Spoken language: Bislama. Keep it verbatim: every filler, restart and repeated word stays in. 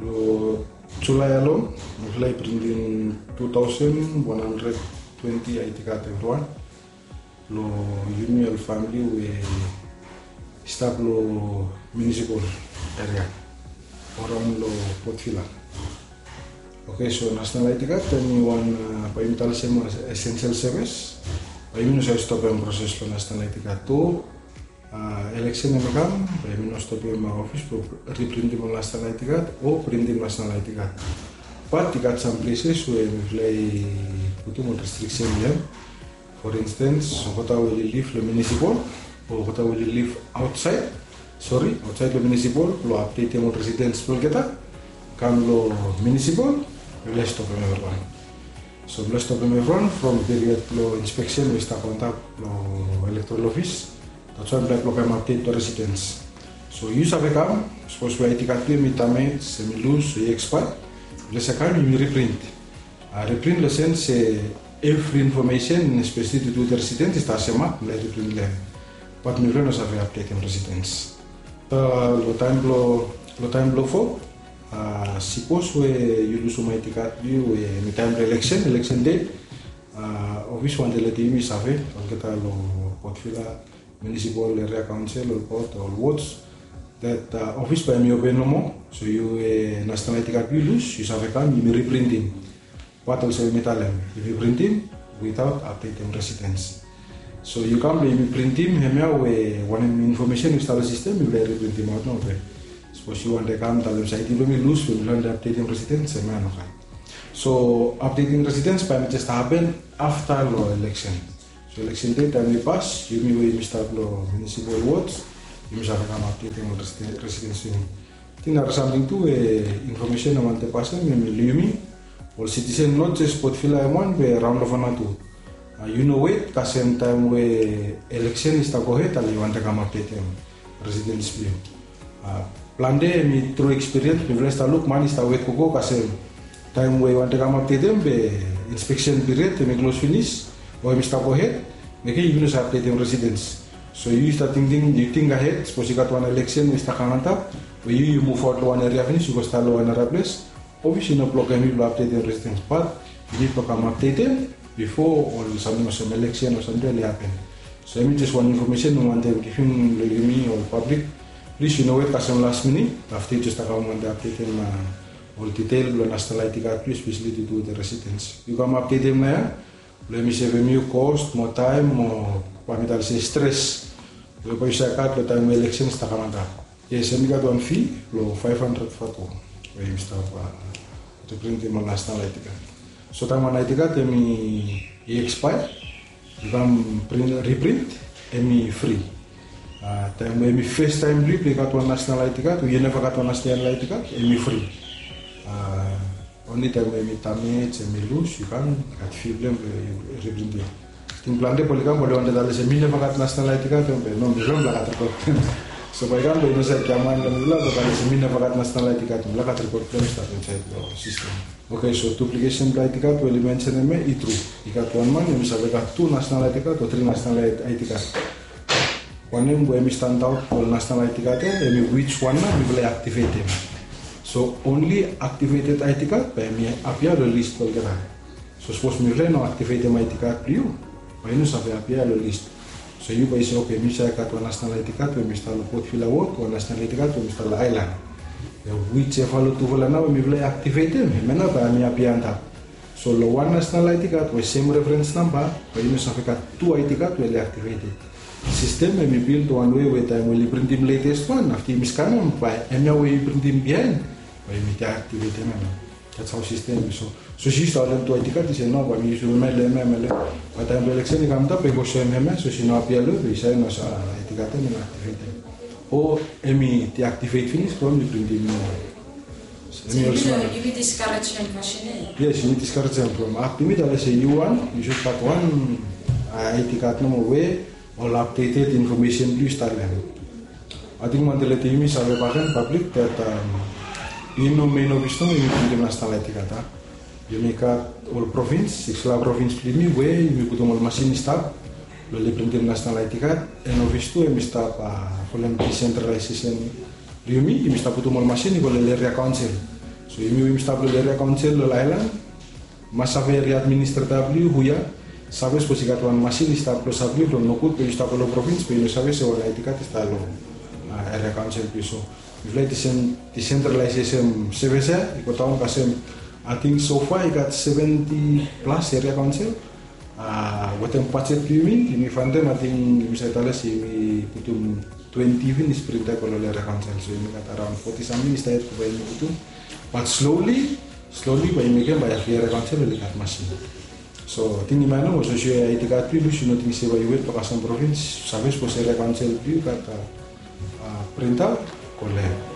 Long Julae alon mifala i printim two thousand one hundred twenty I D card evriwan long yumi ol famili we i stap long municipal area o raon long Port Vila. Oke, so national I D card hemi wan, bae yumi talem se essential service. Bae yumi no save stopem proses blong national I D card. Eleksen hemi kam, bae yumi no stopem ofis blong riprintim ol national I D card o printim national I D card. Bat i gat sam places we mifala i putum ol restriction long hem. For instance, olgeta we oli liv long municipal o olgeta we oli liv aotsaed, sori, aotsaed long municipal blong apdetem ol residence blong olgeta, kam long municipal, mifala i stopem evriwan. So mifala i stopem evriwan from period blong inspeksen we i stap antap long electoral office. That's why mifala i blokem update to residence. So yu save kam, sapos we I D card blong yu hemi damage, hemi lus o i expire, mifala i save kam yumi reprint. Reprint long sense se evri information, especially to do with residence, i stap semak, mifala i reprint long hem. Bat mifala i no save updatem residence. Long taem blong, long taem blong fo, sapos we yu lusum I D card blong yu we hemi taem blong eleksen, eleksen dei, ofis wantem letem yumi save, olgeta long Port Vila Municipal Area Council, ol port, ol wards, that ofis bae hemi open nomo. So yu we national I D card blong yu lus, yu save kam yumi riprintim. Bat olsem mi talem, yumi printim without updatem residence. So yu kam blong yumi printim hemia we wanem information we i stap long system, mifala i riprintim aot nomo be. Sapos yu wantem kam talem se I D blong mi lus, we mi no wantem updatem residence, hemia no kam. So updating residence bae hemi jes hapen afta long eleksen. So eleksen dei taem i pas, yumi we yumi stap long municipal wards, yumi save kam updatem ol residence blong yumi. Ating nara samting tu we information i wantem pasem hemi long yumi ol citizen, not jes Port Vila hem wan be raon long Vanuatu. Yu no wet kasem taem we eleksen i stap gohed, ale yu wantem kam updatem residence blong yu. Plante hemi tru experience, mifala i stap luk man i stap wet gogo kasem taem we i wantem kam updatem be inspection period hemi close finis o hemi stap gohed, mekem yumi no save updatem residence. So yu stap tingting, yu ting ahed, sapos i gat wan eleksen we i stap kam antap, we yu yu muv aot long wan area finis, yu go stap long wan nara ples, ofis i no blokem yu blong updatem residence, bat yu nid blong kam updatem bifo ol samting olsem eleksen o samting oli hapen. So hemi jes wan information mi wantem givim long yumi ol pablik. Plis yu no wet kasem las minit afta yu jes stap kam wantem updatem ol detail blong national I D card blong yu, especially to do with residence. Yu kam updatem naoia blong hemi sevem yu cost mo taem mo, bae mi talem se, stres we bae yu save gat long taem we eleksen i stap kam antap. Yes, hemi gat wan fee blong five hundred vatu we yumi stap riprintim ol national I D card. So taem wan I D card hemi expire, yu kam reprint, hemi fri. Taem we hemi fes taem blong yu blong yu gat wan national I D card o yu neva gat wan national I D card, hemi fri. Only taem we hemi damage, hemi lus, yu kam gat fee blong hem blong yu riprintim. Ating plante bae oli kam, bae oli wantem talem se mi neva gat national I D card, be no, mifala mifala gat rekod blong hem. So bae i kam bae i no save giaman long mifala blong talem se mi neva gat national I D card, mifala gat rekod blong hem i stap insaed long sistem. Oke, so duplication blong I D card we oli mensenem ia i tru. I gat wan man hemi save gat tu national I D card o tri national I D card. Wanem we hemi stand aot long national I D card ia, hemi which one nao mifala i activatem. So only activated I D card bae hemi appear long list blong olgeta. So sapos mifala i no activatem I D card blong yu, bae i no save appear long list. So yu bae yu se, oke, mi save gat wan national I D card we mi stap long Port Vila ward, wan national I D card we mi stap long aelan. Whichever long tufala nao we mifala i activatem, hemia nao bae hemi appear antap. So long wan national I D card we sem reference namba, bae yu no save gat tu I D card we oli activated. Sistem hemi build wan wei we taem we oli printim latest wan, afta yumi skanem, bae hemia we i printim biaen bae yumi deactivatem hemia. That's how sistem hemi. So sapos yu stap wetem tu I D card, yu se no, bae mi yusum hemia, hemia, hemia. Bae taem blong eleksen i kam antap, bae i go soem hemia, sapos i no appear long yu, bae yu save no se I D card ia hemi activated. O hemi deactivate finis from yu printim niu wan. Hemi olsem nao. Yumi discourage hem fasin ia? Yes, yumi discourage hem from, up to mi talem se yu wan, yu should gat wan I D card nomo we ol updated information blong yu i stap long hem. Ating mi wantem letem yumi save bakegen, pablik, that i no mein ofis nomo yumi printim national I D card ia. Yumi gat ol provins, siksfala provins blong yumi we yumi putum ol masin i stap blong oli printim national I D card, and ofis tu hemi stap folem decentralization blong yumi, yumi stap putum ol masin i go long area council. So yumi we yumi stap long eria kaonsel long aelan, mas save ri administreta blong yu hu ya, save sapos i gat wan masin i stap klosap long yu from nogud be yu stap long provins be yu no save se wan aedi kad i stap long eria kaonsel blong yu. So mifala i disentralaesem sevis ya i go daon kasem, ating sofa i gat seventi plas eria kaonsel. Wetem bajet blong yumi, yumi fantem ating yumi save talem se yumi putum twenti finis printa i go long eria kaonsel. So yumi gat araon foti samting i stap yet go bae yumi putum. Bat sloli sloli bae yumi mekem bae evri eria kaonsel oli gat masin. So ating yumi aning olsem se aedi kad blong yu lus yu no ting se bae yu wet long kasem provins, save sapos eria kaonsel blong yu gat printa, go long hem.